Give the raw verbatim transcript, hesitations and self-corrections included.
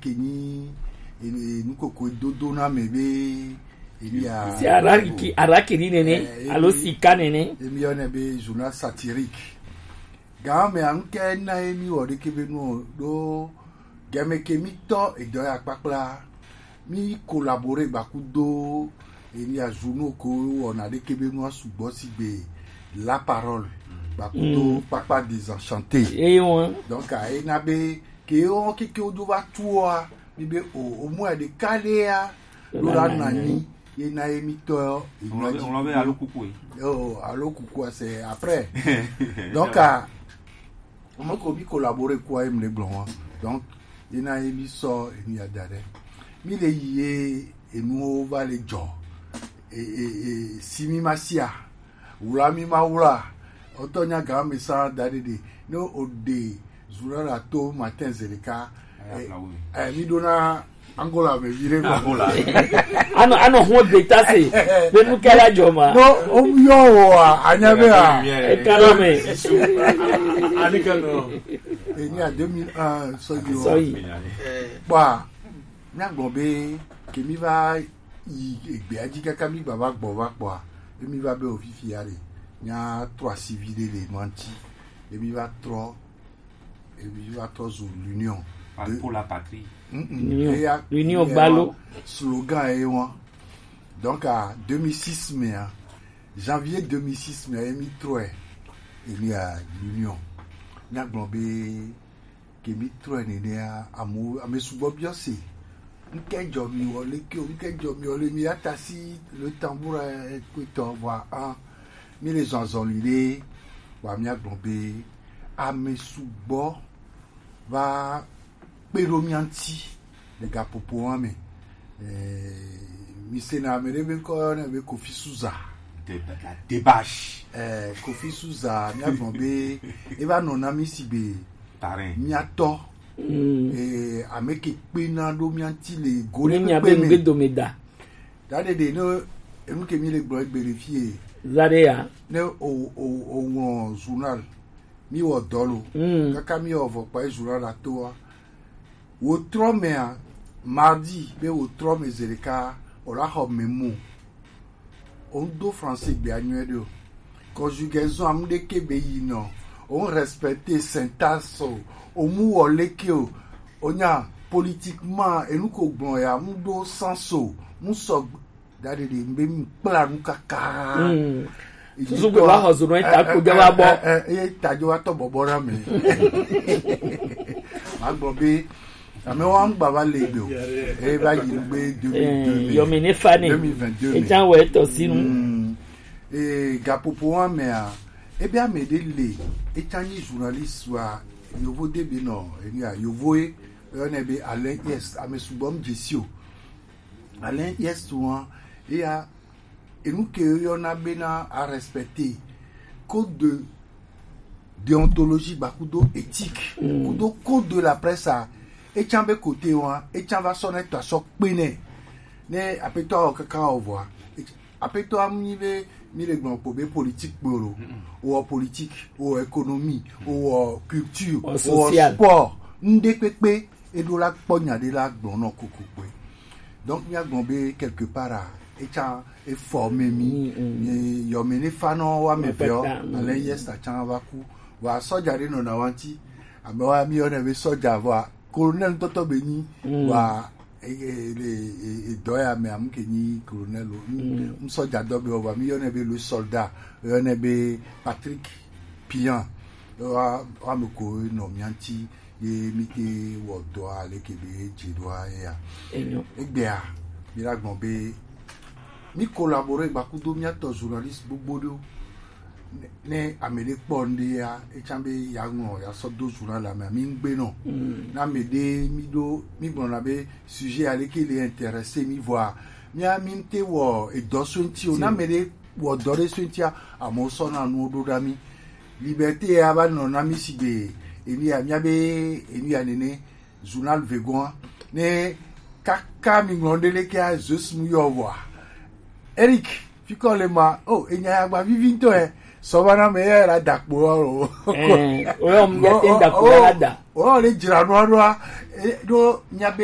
Ke nyi e- e- nukoko dodo na me be emi ya se araki arakiri nene, eh, alo emi- sika nene. Emi yɔ nɛ be journal satirique. Gan me anu ke na emi wɔ ɖeke be nu ɖo game ke mi tɔ edɔ ya kpakpla. Mi collaborer gbakudo emi ya journaux ko wɔna ɖeke be nu sugbɔ sigbe La Parole gbakudo Papa Désenchanté. Eye wọn. Donc a ena be ke wo keke wo do va tu wa mi be o o mu ade kale ya lo la na ni ye na ye mi tɔ. Ŋlɔ be ŋlɔ be alo kuku yi. Oh, alo kuku, c'est après. Donc a mo ko mi collaborer quoi em le gblɔ wọn. Donc ye na ye mi sɔ enu ya da ɖe mi le yi ye enu wo va le jɔ e e e si mi ma sia wla mi ma wla. Ɔtɔ nya gan me sa da ɖe ɖe ne o de zura la to matin zeleka. Eh, mi ɖo na Angola me vi ɖe ma. Anɔ anɔ hun de ta se be nu kala jɔ ma. No, o yɔ o a anya be a. E kala me. Ani kan no. Eni a deux mille un sɔ yi o. Sɔ yi. Kpɔa, míagblɔ be ke mi va yi egbea dzi kaka mi gbava gbɔ va kpɔa, ye mi va be o fifi ya ɖe, míatrɔ asi vi ɖe le nua ŋuti, ye mi va trɔ, ye mi va trɔ zu l'union de pour la patrie. Mm, mm. L'union. Eya, l'union eya gbalo. Slogan ye wan. Donc à deux mille six mea, janvier deux mille six mea, ye mi trɔe, ye mi a l'union. Míagblɔ be ke mi trɔe nenea, amewo ame sugbɔ biɔ se. Ŋkɛ jɔ mi wɔ leke o, ŋkɛ jɔ mi wɔ le mi atasi le tambour kpetɔ vɔa an mi le zɔn azɔli ɖe wa mi agblɔ be ame sugbɔ va kpe ɖo mia ŋuti le gaƒoƒo wa me. Eh, mi sena ame ɖe be ŋkɔ yɔ ne be Kofi Suza. De la débâche. Eh, Kofi Suza, mi agblɔ be eva nɔ na mi sigbe Tarin. Mia tɔ. Mm. Eh, ame ke kpena ɖo mia ŋuti le go ne míabe kpekpe me. Ŋgbe dome da. Da ɖe ɖe ne enu ke mi le gblɔ egbe le fie. Za ɖe ya. Ne o o o ŋlɔ journal, mi wɔ dɔ lo. Mm. Kaka mi wɔ vɔ kpa journal la toa. Wo trɔ mea, mardi be wo trɔ me zeɖeka, o la xɔ me mo. O ŋdo français gbea nyuie ɖe o. Conjugaison amu ɖeke be yi nɔ. O ŋ respecter syntaxe o. O mu wɔ leke o. O nya politiquement enu ko gblɔ ya mu ɖo sens o. Mu sɔ da ɖe ɖe be mu kpla nu kaka. Mm. Susu gbe wa xɔ zunu eta ko dze wa bɔ. Eh, eh, eh, eh, ta dze wa tɔ bɔbɔ na me. Ma gbɔ be ame wa ŋgba va le gbe o. E va yi gbe deux mille deux. Eh, yɔmi ne fa ne. Deux mille vingt-deux. Etsa wɔ etɔ sinu. Mm. Eh, gaƒoƒo wa mea, ebe ame ɖe le, etsa nyi journaliste wa, yovo de be nɔ, enia, yovo e, yɔ ne be Alain Yes, ame sugbɔ mu dzesi o. Alain Yes wa, eya, enu ke yɔna bena a respecter code de déontologie ba kudo éthique, mm, kudo code de la presse a, etsa be côté wa, etsa va sɔ ne tɔ sɔ kpe ne. Ne apetɔ awɔ kaka wɔ vɔa, et-, apetɔ amu nyi be mi le gblɔ kpo be politique kpo lo, wɔ politique, wɔ économie, wɔ culture, wɔ social, sport, ŋde kpekpe. Eɖo la kpɔ nya ɖe la gblɔ nɔ kokokpe. Donc mia gblɔ be quelque part a, etsa e forme mi. Mm, mm. Ye yɔme ne fa nɔ wa me vɛ o. Pɛpɛta, mm. Ale yɛ sa tsa va ku. Wa sɔja ɖe nɔ na wa ŋuti. Ame wa mi yɔ ne be sɔja vɔa. Colonel tɔtɔ be nyi. Mm. Wa e, e, le, e, e, dɔ ya me amu ke nyi colonel o. Mm. Mm, sɔja dɔ be o, wa mi yɔ ne be le soldat. Yɔ ne be Patrick Pian. Wa, wa me ko nɔ mia ŋuti. Ye mi te wɔ dɔa leke be dze ɖoa ye ya. Enyo. Egbea, mi la gbɔn be mi collaborer gba kudo mia tɔ journaliste gbogbo ɖewo. Ne, ne ame ɖe kpɔ ŋɖe ya, etsa be ya ŋlɔ, ya sɔ do journal la me, mi ŋgbe nɔ. Mm. Na ame ɖe mi ɖo, mi gblɔna be sujet ya leke le intéresser mi vɔa, mia mi te wɔ edɔ so ŋuti o. Na ame ɖe wɔ dɔ ɖe so ŋutia, amewo sɔna nuwo ɖo ɖa mi. Liberté ya va nɔ na mi sigbe enu ya, mia be enu ya nene, journal Vegoa, ne kaka mi ŋlɔ ɖe leke a Zeus mu yɔ vɔa. Eric, fi ke le ma, oh, enya ya gba vivi ŋutɔ ɛ. Sɔ va na me ya la da kpo o. Eh, o yɔ mu ya te da kpo la da. O le dzra nua ɖoa, e, ɖo mia be